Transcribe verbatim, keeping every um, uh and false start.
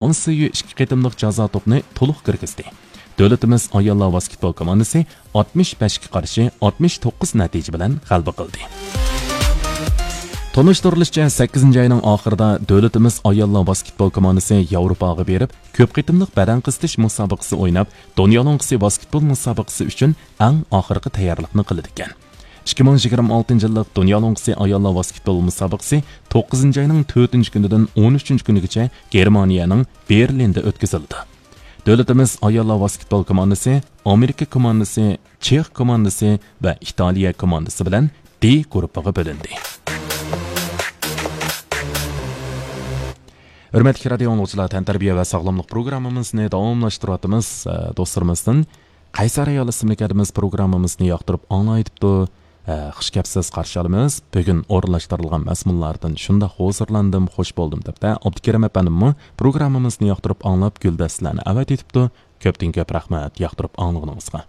ئون سۈيى ئىككى قېتىملىق جازا توپنى تولۇق كىرگۈزدى. دۆلىتىمىز ئاياللار ۋاسكېتبول كوماندىسى ئاتمىش بەشكە قارشى ئاتمىش توققۇز نەتىجە بىلەن غەلىبە قىلدى. تونۇشتۇرۇلۇشىچە، سەككىزىنچى ئاينىڭ ئاخىرىدا دۆلىتىمىز ئاياللار ۋاسكېتبول كوماندىسى ياۋروپاغا بېرىپ، كۆپ قېتىملىق بەدەن قىستىش مۇسابىقىسى ئويناپ، دۇنيا لوڭقىسى ۋاسكېتبول مۇسابىقىسى ئۈچۈن ئەڭ ئاخىرقى تەييارلىقنى قىلىدىكەن. ئىككى مىڭ يىگىرمە ئالتىنچى يىللىق دۇنيا لوڭقىسى ئاياللار ۋاسكېتبول مۇسابىقىسى توققۇزىنچى ئاينىڭ تۆتىنچى كۈنىدىن ئون ئۈچىنچى كۈنىگىچە گېرمانىيەنىڭ بېرلىندا ئۆتكۈزۈلدى. دۆلىتىمىز ئاياللار ۋاسكېتبول كوماندىسى ئامېرىكا كوماندىسى، چېخ كوماندىسى ۋە ئىتالىيە كوماندىسى بىلەن دې گۇرۇپپىغا بۆلۈندى. ھۆرمەتلىك رادىيو ئاڭلىغۇچىلار، تەنتەربىيە ۋە ساغلاملىق پروگراممىمىزنى داۋاملاشتۇرۇۋاتىمىز. ئە، دوستلىرىمىزدىن قەيسەر ئايال ئىسىملىك ھەدىمىز پروگراممىمىزنى ياقتۇرۇپ ئاڭلايتىپتۇ. ئە، خۇش كەپسىز قارشى ئالىمىز. بۈگۈن ئورۇنلاشتۇرۇلغان مەزمۇنلاردىن شۇنداق ھۇزۇرلاندىم، خوش بولدۇم دەپتە. ئابدۇكېرىم ئەپەندىممۇ پروگراممىمىزنى ياقتۇرۇپ ئاڭلاپ، گۈلدەستىلەرنى ئەۋەتىۋېتىپتۇ. كۆپتىن كۆپ رەھمەت ياقتۇرۇپ ئاڭلىغىنىڭىزغا.